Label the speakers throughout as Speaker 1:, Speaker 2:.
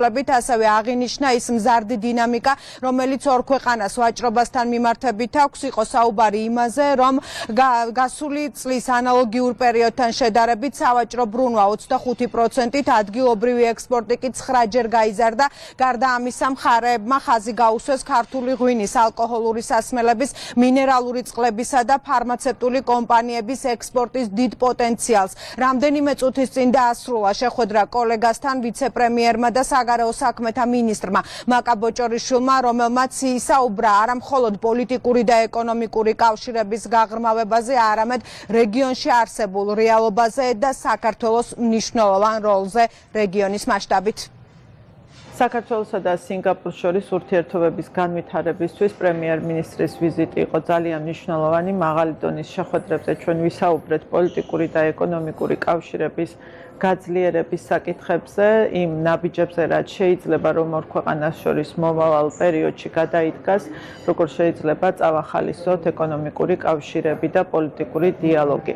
Speaker 1: ასევე აღინიშნა ის მზარდი დინამიკა, რომელიც ორ ქვეყანას ვაჭრობასთან მიმართებით აქვს, იყო საუბარი იმაზე, რომ გასული წლის ანალოგიურ პერიოდთან შედარებით სავაჭრო ბრუნვა 25%-ით, ადგილობრივი ექსპორტი კი 9-ჯერ გაიზარდა. გარდა ამისა, მხარეებმა ხაზი გაუსვეს ქართული ღვინის, ალკოჰოლური სასმელების, მინერალური წყლებისა და ფარმაცევტული კომპანიების ექსპორტის დიდ პოტენციალს. რამდენიმე წუთის წინ დაასრულა შეხვედრა კოლეგასთან, ვიცე-პრემიერმა და საგარეო საქმეთა მინისტრმა მაკა ბოჭორიშვილმა, რომელმაც ისაუბრა არა მხოლოდ პოლიტიკური და ეკონომიკური კავშირების გაღრმავებაზე, არამედ რეგიონში არსებულ რეალობაზე და საქართველოს მნიშვნელოვან როლზე რეგიონის მასშტაბით.
Speaker 2: საქართველოსა და სინგაპურს შორის ურთიერთობების განვითარებისთვის პრემიერ-მინისტრის ვიზიტი იყო ძალიან მნიშვნელოვანი. მაღალი დონის შეხვედრებზე ჩვენ ვისაუბრეთ პოლიტიკური და ეკონომიკური კავშირების გაძლიერების საკითხებზე, იმ ნაბიჯებზე, რაც შეიძლება რომ ორ ქვეყანას შორის მომავალ პერიოდში გადაიდგას, როგორ შეიძლება წავახალისოთ ეკონომიკური კავშირები და პოლიტიკური დიალოგი.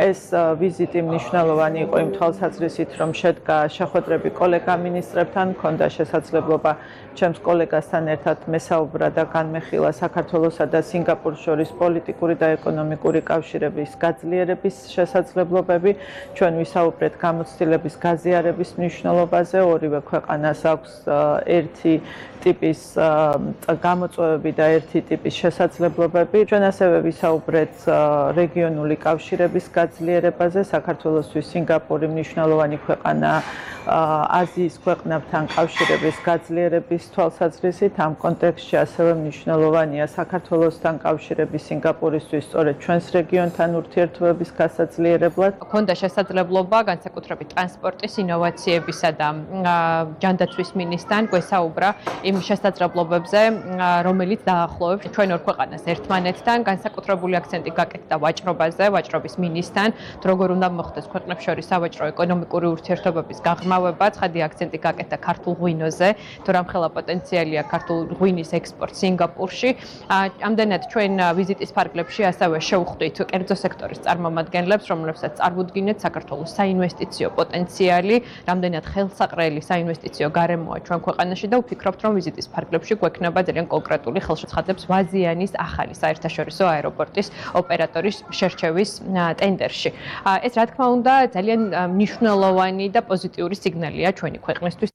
Speaker 2: ეს ვიზიტი მნიშვნელოვანი იყო იმ თვალსაზრისით, რომ შედგა შეხვედრები კოლეგა მინისტრებთან, ჰქონდა შესაძლებლობა ჩემს კოლეგასთან ერთად მესაუბრა და განმეხილა საქართველოსა და სინგაპურს შორის პოლიტიკური და ეკონომიკური კავშირების გაძლიერების შესაძლებლობები. ჩვენ ვისაუბრეთ გამოცდილების გაზიარების მნიშვნელობაზე, ორივე ქვეყანას აქვს ერთი ტიპის გამოწვევები და ერთი ტიპის შესაძლებლობები. ჩვენ ასევე ვისაუბრეთ რეგიონული კავშირების გაძლიერებაზე. საქართველოსთვის სინგაპური მნიშვნელოვანი ქვეყანაა აზიის ქვეყნებთან კავშირების გაძლიერების თვალსაზრისით. ამ კონტექსტში ასევე მნიშვნელოვანია საქართველოსთან კავშირები სინგაპურისთვის სწორედ ჩვენს რეგიონთან ურთიერთობების გასაძლიერებლად.
Speaker 3: ჰქონდა შესაძლებლობა განსაკუთრებით ტრანსპორტის, ინოვაციებისა და ჯანდაცვის მინისტრთან გვესაუბრა იმ შესაძლებლობებზე, რომელიც დაახლოებს ჩვენ ორ ქვეყანას ერთმანეთთან. განსაკუთრებული აქცენტი გაკეთდა ვაჭრობაზე, ვაჭრობის მინისტრთან, როგორ უნდა მოხდეს ქვეყნებს შორის სავაჭრო ეკონომიკური ურთიერთობების გაღრმავება. ცხადი აქცენტი გაკეთდა ქართულ ღვინოზე, თუ რამხელა პოტენციალია ქართულ ღვინის ექსპორტ სინგაპურში. ამდენად ჩვენ ვიზიტის ფარგლებში ასევე შევხვდით კერძო სექტორის წარმომადგენლებს, რომლებსაც წარმოუდგინეთ საქართველოს საინვესტიციო პოტენციალი, რამდენად ხელსაყრელი საინვესტიციო გარემოა ჩვენ ქვეყანაში და ვფიქრობთ, რომ ვიზიტის ფარგლებში გვექნება ძალიან კონკრეტული ხელშეწყადებს ვაზიანის ახალი საერთაშორისო აეროპორტის ოპერატორის შერჩევის ტენდერში. ეს რა თქმა უნდა ძალიან მნიშვნელოვანი და პოზიტიური სიგნალია ჩვენი ქვეყნისთვის.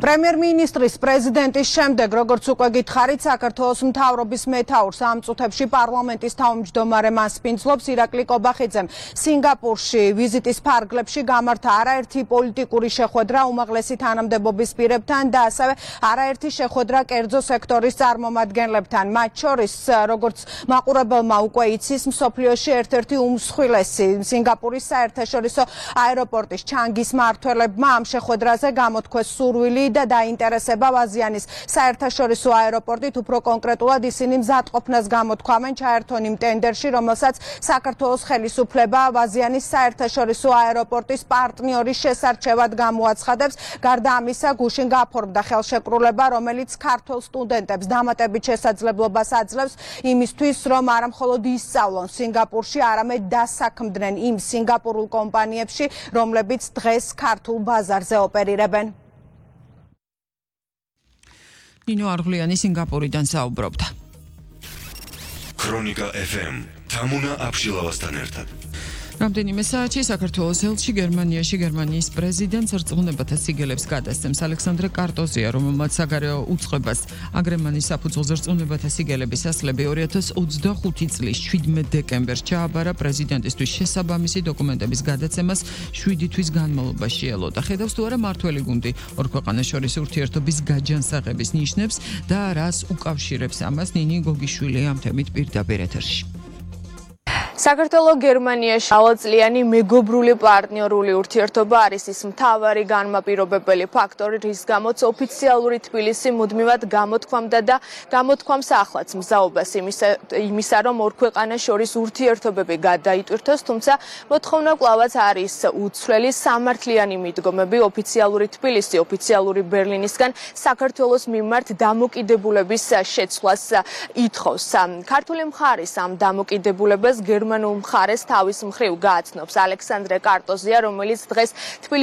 Speaker 1: პრემიერ-მინისტრის პრეზიდენტის შემდეგ, როგორც უკვე გითხარით, საქართველოს მთავრობის მეთაურს ამ წუთებში პარლამენტის თავმჯდომარე მასპინძლობს ირაკლი კობახიძემ. სინგაპურში ვიზიტის ფარგლებში გამართა არაერთი პოლიტიკური შეხვედრა უმაღლესი თანამდებობის პირებთან და ასევე არაერთი შეხვედრა კერძო სექტორის წარმომადგენლებთან. მათ შორის, როგორც მაყურებელმა უკვე იცის, მსოფლიოში ერთ-ერთი უმსხვილესი სინგაპურის საერთაშორისო აეროპორტის ჩანგის მმართველებმა ამ შეხვედრაზე გამოთქვეს სურვილი და დაინტერესება ვაზიანის საერთაშორისო აეროპორტით, უფრო კონკრეტულად ისინი მზადყოფნას გამოთქვამენ ჩაერთონ იმ ტენდერში, რომელსაც საქართველოს ხელისუფლება ვაზიანის საერთაშორისო აეროპორტის პარტნიორის შესარჩევად გამოაცხადებს. გარდა ამისა, გუშინ გაფორმდა ხელშეკრულება, რომელიც ქართველ სტუდენტებს დამატებით შესაძლებლობას აძლევს იმისთვის, რომ არა მხოლოდ ისწავლონ სინგაპურში, არამედ დასაქმდნენ იმ სინგაპურულ კომპანიებში, რომლებიც დღეს ქართულ ბაზარზე ოპერირებენ.
Speaker 4: ნინო არღლიანი სინგაპურიდან საუბრობდა.
Speaker 5: ქრონიკა FM თამუნა აბშილავასთან ერთად.
Speaker 4: რამდენიმე საათში საქართველოს ელჩი გერმანიაში გერმანიის პრეზიდენტს რწმუნებათა სიგელებს გადასცემს. ალექსანდრე კარტოზია, რომელმაც საგარეო უწყებას აგრემანის საფუძველზე რწმუნებათა სიგელების ასლები 2025 წლის 17 დეკემბერს ჩააბარა პრეზიდენტისთვის შესაბამისი დოკუმენტების გადაცემას 7 თვის განმავლობაში ელოდა. ხედავს თუ არა მართველი გუნდი ორ ქვეყანას შორის ურთიერთობის გაჯანსაღების ნიშნებს და რას უკავშირებს ამას ნინი გოგიშვილი ამ თემით პირდაპირ ეთერში.
Speaker 6: საქართველოს გერმანიაში ალაწლიანი მეგობრული პარტნიორული ურთიერთობა არის ის მთავარი განმაპირობებელი ფაქტორი, რის გამოც ოფიციალური თბილისი მუდმივად გამოთქვამდა და გამოთქვამს ახლაც მზაობას იმისა, რომ ორ ქვეყანას შორის ურთიერთობები გადაიტვირთოს, თუმცა მოთხოვნა კვლავაც არის უცვლელი სამართლიანი მიდგომები ოფიციალური თბილისი, ოფიციალური ბერლინისგან საქართველოს მიმართ დამოკიდებულების შეცვლას ითხოვს. ქართული მხარის ამ დამოკიდებულებას გერმანულ მხარეს თავის მხრივ გააცნობს. ალექსანდრე კარტოზია, რომელიც დღეს